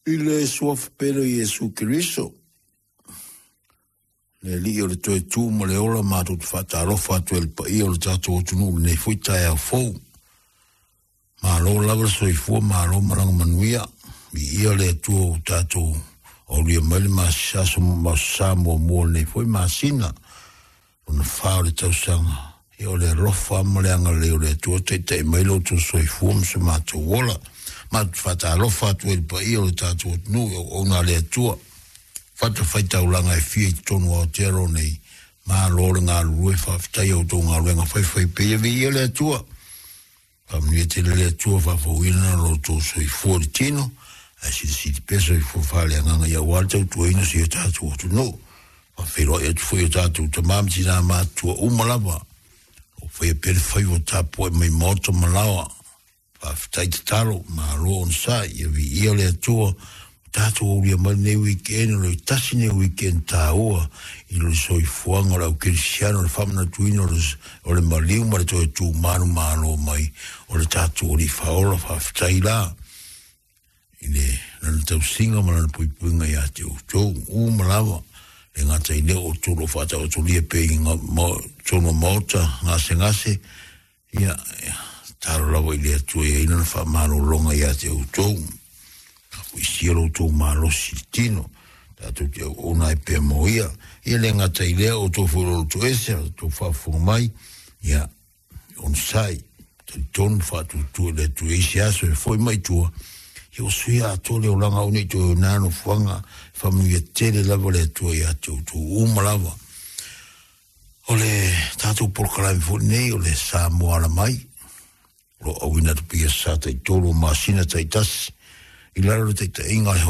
I le suafa pele o Iesu Keriso, le Alii o le toe tu ma le ola, matou te faatalofa atu ai i le paia o le tatou atunuu i lenei foi taeao fou. Malo lava le soifua, malo malaga manuia. Viia le Atua ua tatou aulia mai le aso sa muamua o lenei foi masina, lona fa o le tausaga. Ia o le alofa ma le agalelei o le Atua taitai mai lo outou soifua ma so matou ola. Matou te faatalofa atu ai i le paia o le tatou atunuu i auauna a le Atua, fatafaitaulaga e fia i totonu o Aotearoa nei. Malo le galulue, faafetai i a outou galuega faifaipea. Viia le Atua. Faamanuia tele le Atua, faafouina lo outou soifua i le tino, ae silisili pea soifua faaleagaga ia aua le tautuaina o si o tatou atunuu. Faafeiloai atu foi o tatou tama ma tina matutua uma lava, o faia pea le faiva o tapuai mai maota ma laoa. Faafetai tatalo, malo onosai, ia viia le Atua, tatou aulia mai lenei weekend, o le tasi lenei weekend taua i le soifuaga o le au kerisiano, le faamanatuina o le maliu ma le toe tu manumalo mai o le tatou Alii Faaola. Faafetai la i le lana tausiga ma lana puipuiga ia te outou uma lava, le gata i lea o outou o lo o faataotolia pea i totonu o maota gasegase. Ia, tatalo lava i le Atua ia i ai lana faamalologa ia te outou. Foisia lo outou malosi i le tino, tatou te auauna ai pea mo ia. Ia le gata i lea, outou foi o lo toese, outou faafofoga mai, ia, onosai, talitonu faatuatua i le Atua i se aso e foi mai tua, ia ua suia atoa le olaga au nei toe o nā nofoaga, faamanuia tele lava le Atua ia te outou uma lava. O le tatou polokalame foi lenei o le Samoa Ala Mai, o lo o auina atu pea sa taitolu o masina taitasi i lalo o le taitaiga a le